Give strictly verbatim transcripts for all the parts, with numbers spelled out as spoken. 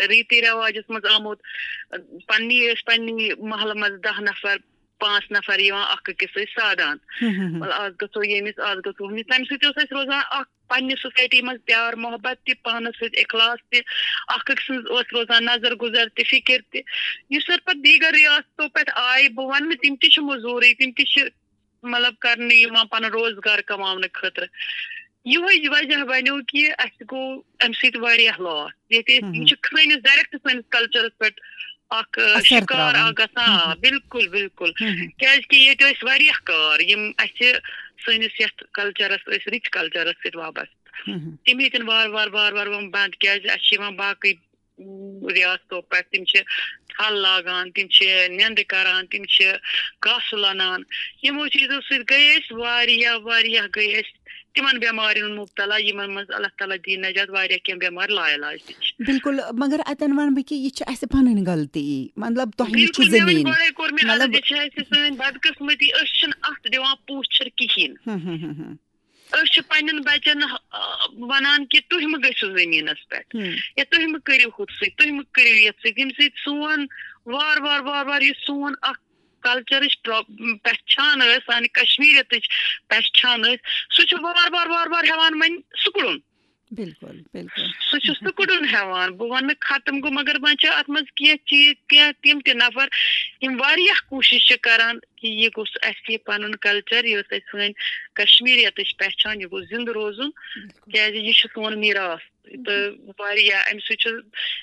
ریتی رواجس منٛز آمُت۔ پننی ٲسۍ پننی محلہٕ منٛز دَہ نفر، پانٛژھ نفر یِوان اکھ أکِس سۭتۍ سادان۔ مطلب، آز گژھو ییٚمِس، آز گژھو ہُمِس۔ تَمہِ سۭتۍ اوس اَسہِ روزان اکھ پننہِ سوسایٹی منٛز پیار محبت تہِ، پانس سۭتۍ اخلاص تہِ، اکھ أکۍ سٕنٛز ٲس روزان نظر گُزر تہِ، فکر تہِ۔ یُس زن پتہٕ دیٖگر ریاستو پٮ۪ٹھ آیہِ، بہٕ ونہٕ نہٕ، تِم تہِ چھِ مٔزوٗرٕے، تِم تہِ چھِ مطلب کرنہٕ یِوان پنُن روزگار کماونہٕ خٲطرٕ۔ یِہوٚے وجہ بنیو کہِ اَسہِ گوٚو اَمہِ سۭتۍ واریاہ loss۔ ییٚتہِ أسۍ، یِم چھِ سٲنِس، direct سٲنِس culture پٮ۪ٹھ اکھ، آ، اثر شکار تراوان۔ اکھ گژھان۔ آ، بِلکُل، بِلکُل۔ کیازِ کہِ ییٚتہِ ٲسۍ واریاہ کار، یِم اَسہِ سٲنِس یَتھ culture س ٲسۍ، rich culture س سۭتۍ وابستہٕ۔ تِم ہیٚتِن وارٕ وارٕ، وارٕ وارٕ یِم بنٛد، کیازِ اَسہِ چھِ یِوان باقٕے، اُم، ریاستو پٮ۪ٹھ۔ تِم چھِ تھل لاگان، تِم چھِ نیٚنٛدٕ کران، تِم چھِ گاسہٕ لونان۔ یِمو چیٖزو سۭتۍ گٔے أسۍ واریاہ، واریاہ گٔے أسۍ تِمن بٮ۪مارٮ۪ن مُبتلا، یِمن منٛز اللہ تعالیٰ دِیِن نجات۔ واریاہ کینٛہہ بٮ۪مارِ لاعلاج تہِ چھِ۔ بِلکُل، مگر اَتٮ۪ن وَنہٕ بہٕ کہِ یہِ چھِ اَسہِ پَنٕنۍ غلطی، مطلب، تۄہہِ نِش چھُ بِلکُل، مےٚ وَنہِ زٔمیٖن۔ گۄڈَے کوٚر مےٚ عرض، مطلب، یہِ چھِ اَسہِ سٲنۍ بدقٕسمتی، أسۍ چھِنہٕ اَتھ دِوان پوچھر کِہیٖنۍ۔ ہُم، ہُم، ہُم، ہُم۔ أسۍ چھِ پننٮ۪ن بچن، آ، ونان کہِ تُہۍ مہٕ گٔژھِو زٔمیٖنس پٮ۪ٹھ، ہُم۔ یا تُہۍ مہٕ کٔرِو ہُتھ سۭتۍ، تُہۍ مہٕ کٔرِو یتھ سۭتۍ، ییٚمہِ سۭتۍ سون وار وار، وار وار یُس سون اکھ culture ٕچ پرا-، پہچان ٲس، سانہِ کشمیریتٕچ پہچان ٲس، سُہ چھُ وار وار، وار وار ہٮ۪وان وۄنۍ سُکڑُن۔ بِلکُل، بِلکُل۔ سُہ چھُ سُکڑُن ہٮ۪وان۔ بہٕ وَنہٕ نہٕ ختم گوٚو، مگر وۄنۍ چھِ اَتھ منٛز کینٛہہ چیٖز، کینٛہہ تِم تہِ نفر، یِم واریاہ کوٗشِش چھِ کران کہِ یہِ گوٚژھ اَسہِ، یہِ پَنُن culture، یہِ ٲس اَسہِ سٲنۍ کشمیریتٕچ پہچان، یہِ گوٚژھ زِندٕ روزُن، بِلکُل۔ کیازِ یہِ چھُ سون میٖراث۔ تہٕ واریاہ اَمہِ سۭتۍ چھُ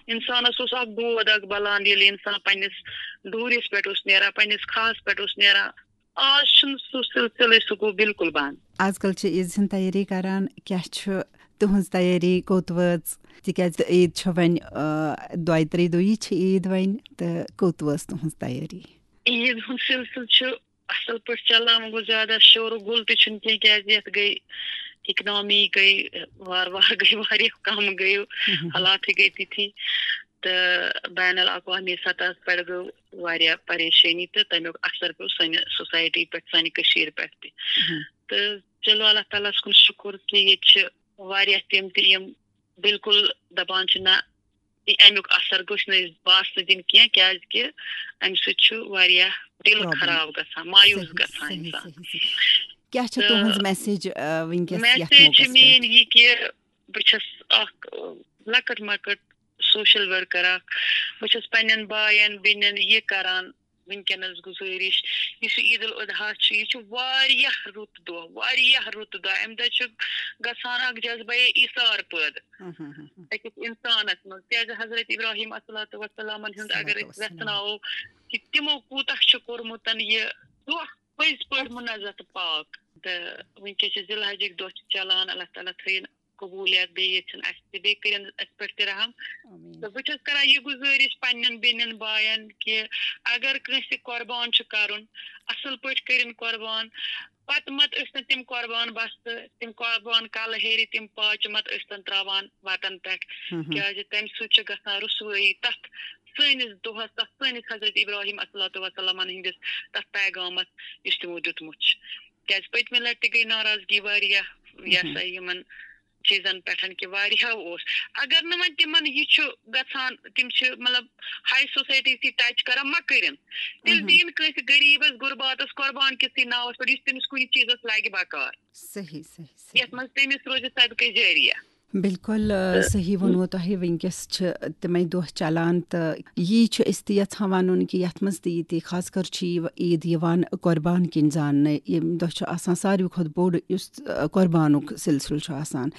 اِنسانَس اوس اَکھ دود اَکھ بَلان، ییٚلہِ اِنسان پنٛنِس ڈوٗرِس پٮ۪ٹھ اوس نیران، پنٛنِس کھاہَس پٮ۪ٹھ اوس نیران۔ آز چھُنہٕ سُہ سلسلے، سُہ گوٚو بِلکُل بنٛد۔ آز کل چھِ عیٖد ہٕنٛز تیٲری کران، کیٛاہ چھُ تُہٕنٛز تیٲری، کوٚت وٲژ؟ تِکیٛازِ عیٖد چھےٚ وۄنۍ، آ، دۄیہِ ترٛیٚیہِ دۄہی چھِ عیٖد وۄنۍ، تہٕ کوٚت وٲژ تُہٕنٛز تیٲری؟ عیٖد ہُنٛد سلسلہٕ چھُ اصل پٲٹھۍ چلان، وۄنۍ گوٚو زیادٕ شور و گُل تہِ چھُنہٕ کینٛہہ، کیٛازِ یتھ گٔے economy گٔے وارٕ وارٕ گٔے واریاہ کم گٔے، حالاتٕے گٔے تِتھی۔ تہٕ بین الاقوامی سطحس پٮ۪ٹھ گوٚو واریاہ پریشٲنی تہٕ تَمیُک اثر پیوٚو سانہِ society پٮ۪ٹھ، سانہِ کٔشیٖرِ پٮ۪ٹھ تہِ۔ تہٕ چلو، اللہ تعالیٰ ہَس کُن شُکُر کہِ ییٚتہِ چھِ واریاہ تِم تہِ یِم بِلکُل دَپان چھِ، نہ، یہِ اَمیُک اثر گوٚژھ نہٕ أسۍ باسنہٕ دِنۍ کینٛہہ، کیٛازِ کہِ اَمہِ سۭتۍ چھُ واریاہ دِل problem۔ خراب گژھان، مایوٗس صحیح، گژھان صحیح، اِنسان۔ صحیح، صحیح۔ کیٛاہ چھےٚ تہٕ تُہٕنٛز message، آ، وٕنکیٚس یَتھ message موقعس چھِ پٮ۪ٹھ؟ میٛٲنۍ یہِ کہِ بہٕ چھَس اَکھ، آ، لۄکٕٹ مۄکٕٹ social worker اَکھ۔ بہٕ چھَس پنٛنٮ۪ن باین، بیٚنٮ۪ن یہِ کَران وٕنکیٚنَس گُزٲرِش، یُس یہِ عید الاضحیٰ چھُ، یہِ چھُ واریاہ رُت دۄہ، واریاہ رُت دۄہ۔ اَمہِ دۄہ چھُ گژھان اَکھ جذبہ ایثار پٲدٕ أکِس اِنسانَس منٛز، کیٛازِ حضرت ابراہیم علیہ الصلوۃ والسلامَن ہُنٛد اگر أسۍ وٮ۪ژھناوو کہِ تِمو کوٗتاہ چھُ کوٚرمُت یہِ دۄہ پٔزۍ پٲٹھۍ مُنزہ تہٕ پاک۔ تہٕ وٕنکیٚس چھِ ذی الحجٕکۍ دۄہ چھِ چلان، اللہ تعالیٰ تھٲیِن قبوٗلیت، بیٚیہِ ییٚژھِن اَسہِ تہِ، بیٚیہِ کٔرِن اَسہِ پٮ۪ٹھ تہِ رحم۔ تہٕ بہٕ چھَس کران یہِ گُزٲرِش پنٛنٮ۪ن بیٚنٮ۪ن باین کہِ اگر کٲنٛسہِ قۄربان چھُ کَرُن، اَصٕل پٲٹھۍ کٔرِن قۄربان، پَتہٕ مت ٲسۍتَن تِم قۄربان بَستہٕ، تِم قۄربان کَلہٕ ہیٚرِ، تِم پاچہِ مت ٲسۍتَن ترٛاوان وَتَن پٮ۪ٹھ، کیٛازِ تَمہِ سۭتۍ چھِ گژھان رُسوٲیی تَتھ سٲنِس دۄہَس، تَتھ سٲنِس حضرت ابراہیم علیہ الصلوۃ والسلامَن ہٕنٛدِس تَتھ پیغامَس، یُس تِمو دیُتمُت چھُ۔ کیٛازِ پٔتمہِ لَٹہِ تہِ گٔے ناراضگی واریاہ، یہِ ہسا یِمَن چیٖزَن پٮ۪ٹھ کہِ واریاہو اوس۔ اگر نہٕ وۄنۍ تِمَن یہِ چھُ گژھان، تِم چھِ مطلب high society سۭتۍ touch کران، مہ کٔرِن۔ تیٚلہِ دِیِن کٲنٛسہِ غریٖبَس غُرباتَس قۄربان کِسٕے ناوَس پٮ۪ٹھ، یُس تٔمِس کُنہِ چیٖزَس لَگہِ بکار۔ صحیح، صحیح، صحیح۔ یَتھ منٛز تٔمِس روزِ صدقے جٲریہ۔ بِلکُل، آ، تہٕ صحیح ووٚنوٕ تۄہہِ۔ وٕنکیٚس چھِ تِمَے دۄہ چلان، تہٕ یی چھُ أسۍ تہِ یَژھان وَنُن کہِ یَتھ منٛز تہِ یہِ تہِ خاص کر چھِ یہِ عیٖد یِوان قۄربان کِنۍ زاننہٕ۔ ییٚمہِ دۄہ چھُ آسان ساروی کھۄتہٕ بوٚڑ یُس، آ، قۄربانُک سلسلہٕ چھُ آسان۔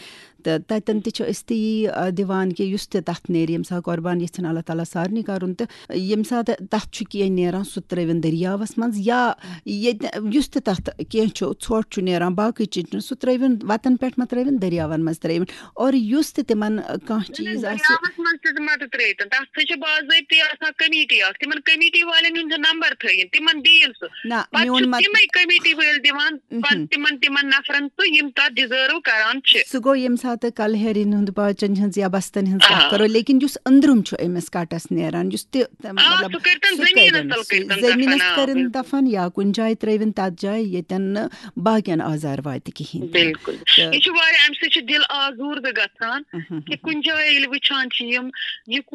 تہٕ تَتٮ۪ن تہِ چھِ أسۍ تہِ یی، آ، دِوان کہِ یُس تہِ تَتھ نیرِ، ییٚمہِ ساتہٕ قۄربان یَژھن اللہ تعالیٰ سارنٕے کَرُن، تہٕ ییٚمہِ ساتہٕ تَتھ چھُ کینٛہہ نیران، سُہ ترٛٲوِن دٔریاوَس منٛز، یا ییٚتہِ یُس تہِ تَتھ کینٛہہ چھُ، ژھۄٹھ چھُ نیران، باقٕے چیٖز چھِ، سُہ ترٛٲوِن وَتَن پٮ۪ٹھ مہ ترٛٲوِن، دٔریاوَن منٛز ترٛٲوِن۔ اور یُس تہِ تِمَن کانٛہہ چیٖز آسہِ۔ دٔریاوَس منٛز تہِ مہ تہٕ ترٛٲوِتَن، تَتھ سۭتۍ چھِ باضٲبطہٕ آسان committee اَکھ، تِمَن committee والٮ۪ن ہُنٛد چھُ number تھٲیِن، تِمَن دِیِن سُہ۔ نہ، پَتہٕ میون چھُ مت-، تِمَے committee وٲلۍ دِوان، پَتہٕ تِمَن، تِمَن نفرَن سُہ، یِم تَتھ deserve کران چھِ۔ سُہ گوٚو ییٚمہِ ساتہٕ کَلہٕ ہیرٮ۪ن ہُنٛد، باچَن ہٕنٛز یا بَستَن ہٕنٛز کَتھ آ۔ کَرو، لیکِن یُس أنٛدرِم چھُ أمِس کَٹَس نیران، یُس تہِ، آ، مطلب، سُہ کٔرۍتَن سُہ زٔمیٖنَس کٔرِن، تَل سُہ کٔرۍتَن زٔمیٖنَس دَفن، آ، کٔرِن بِلکُل۔ دَفن یا کُنہِ جایہِ ترٛٲوِن تَتھ جایہِ، ییٚتٮ۪ن نہٕ باقیَن آزار واتہِ کِہیٖنۍ تہِ۔ بِلکُل۔ تہٕ یہِ چھُ واریاہ، اَمہِ سۭتۍ چھُ دِل آزوٗردٕ گژھان کہِ کُنہِ جایہِ ییٚلہِ وٕچھان چھِ یِم، یہِ